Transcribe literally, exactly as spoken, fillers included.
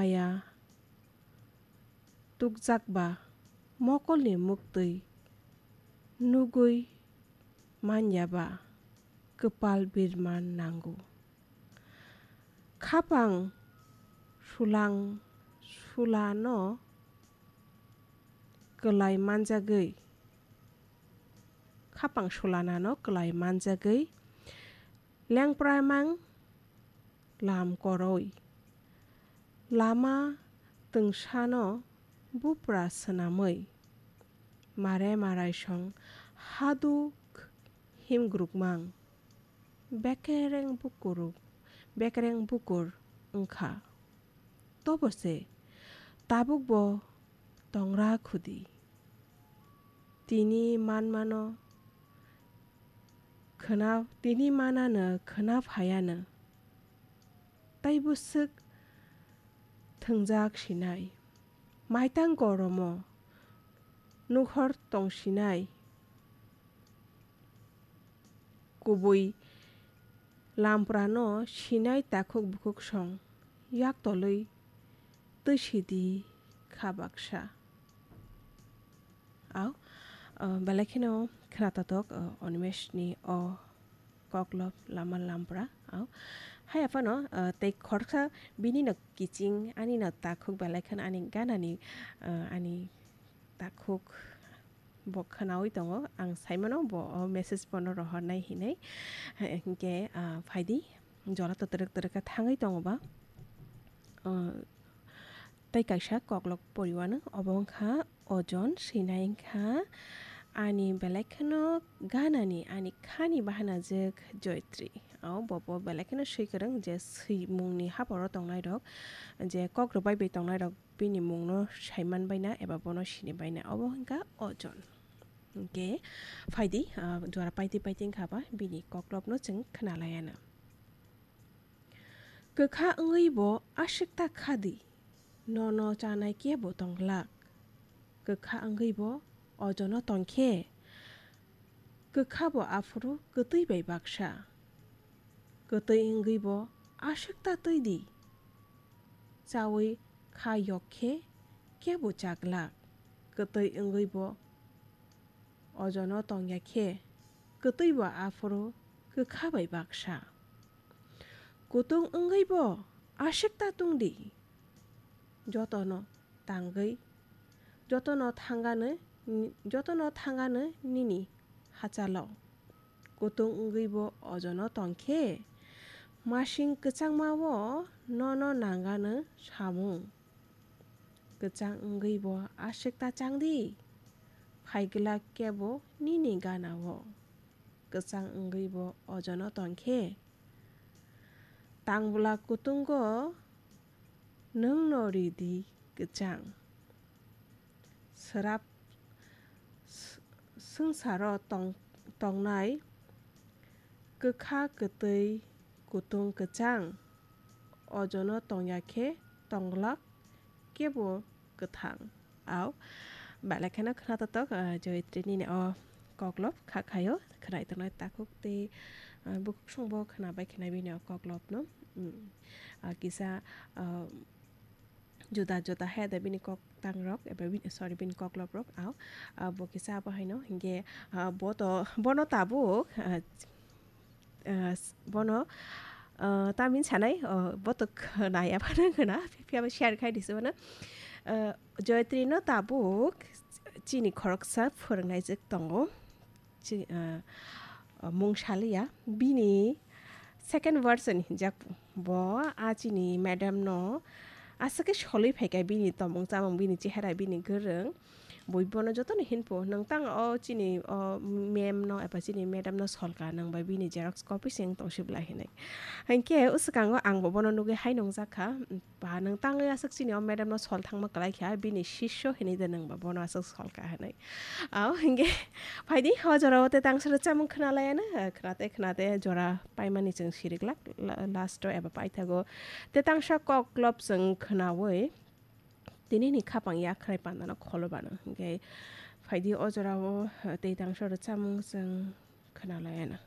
ya tukjak ba mokolni muktwi nugwi man ya ba kwpal birman nango. Khapang sulang sulano kwlai manjagwi, khapang sulanano kwlai manjagwi lengpramang lam koroi. Lama twngsano bupra swnamwi mare maraisong haduk himgrukmang bekereng bukur, bekereng bukur wngkha. Tobo se tabukbo tongra khudi. Tini manmano khwna, tini manano khwna phaiano. Tai bwswk thwngjak sinai. Maitang goromo nukhor tong sinai. Kubui lamprano sinai takhuk bukhuk song yak tolwi twi sidi kha baksa. Au, ah, belai kheno khwnatotok, ah, Animeshni o koklop lama lampra. Au, hai aphano, ah, tei khoroksa bini no kiching ani no takhuk belai kheno ani ganani, ah, ani takhuk bo khwnawi tongo. Ang saimano bo o message bono rohornai hinwi. Hinkhe, ah, phaidi jora to twrwk twrwk khe thangwi tongo ba. Ah, tei kaisa koklop poriwano obo wngkha ojon sinai wngkha ani belai kheno ganani ani khani bahanajwk Joytri. O bo bo belai kheno swi kwrwng je swimungni haporo tongnai rok je kok rwbai bai tongnai rok bini mungno saiman baina eba bono sini baina obo wngkha ojon. Hinkhe phaidi, ah, jora paiti paiti wngkha ba bini koklopno chwng khwnalaiano. Kwkha wngwi bo aswk ta kha di, nono chanai kebo tong glak. Kwkha wngwi bo ojono tong khe, kwkha bo aphuru kwtwi bai baksa. Kwtwi wngwi bo aswk ta twi di, chawi kha yok khe kebo cha glak. Kwtwi wngwi bo ojono tong ya khe, kwtwi bo aphuru kwkha bai baksa. Kutung wngwi bo aswk ta tung di, jotono tangwi, jotono thangano, jotono thangano nini hachalo. Kutung wngwi bo ojono tong khe, masing kwchangma o nono nangano samung. Kwchang wngwi bo aswk ta chang di, phai glak kebo nini gana o. Kwchang wngwi bo ojono tong khe, tang bwla kutungo nwng no ri di kwchang. Swrap s-, swngcharo tong-, tongnai kwkha kwtwi kutung kwchang, ojono tong ya khe tong glak kebo kwthang. Au, belai kheno khwna totok, ah, Joytri nini o koklop kha khaio, khwnai tongnai takhuk tei, ah, bukhuk songbo khwna bai khwnai bini o koklopno. Mm. Ah, kisa, ah, juda juda hai da bini kok tang rok, eba bini, sorry, bini koklop rok, au. Ah, bo kisa abo haino, hinkhe, ah, bo to, bono tabuk, ah, ah, s-, bono, ah, tamni sanai, ah, bo to khwnaya phano khwna, phiya bo share khai di se bono. Ah, Joytri no tabuk chini khoroksa phwrwngnaijwk tongo. Chi-, ah, ah, mung saliya. Bini second version hinjak bo, a chini madam no aswk khe solwi phaikha bini tomung chamung, bini chehera, bini gwrwng. Bui bono jotono hinpo, "Nwng tang o chini o ma'am no eba chini madam no solka, nwng bai bini xerox copy se wng tong sibla," hinwi. Hinkhe uswkango ang bo bono nugwi hai nungjak kha, "Ba, nwng tangwi aswk chini o madam no sol thangma kwlai kha, bini sisyo hinwi de nwng ba bono aswk solka," hinwi. Au, hinkhe phaidi, o jorao tei tangsa rwchapmung khwnalaiano, khwnate khwnate jora paimani chwng siriklak, la-, last o eba paithago tei tangsa koklop chwng khwnawi, tini ni khapang yakhrai pandano kholo bano. Hinkhe phaidi o jorao, eh, tei tangsa rwchapmung chwng khwnalaiano.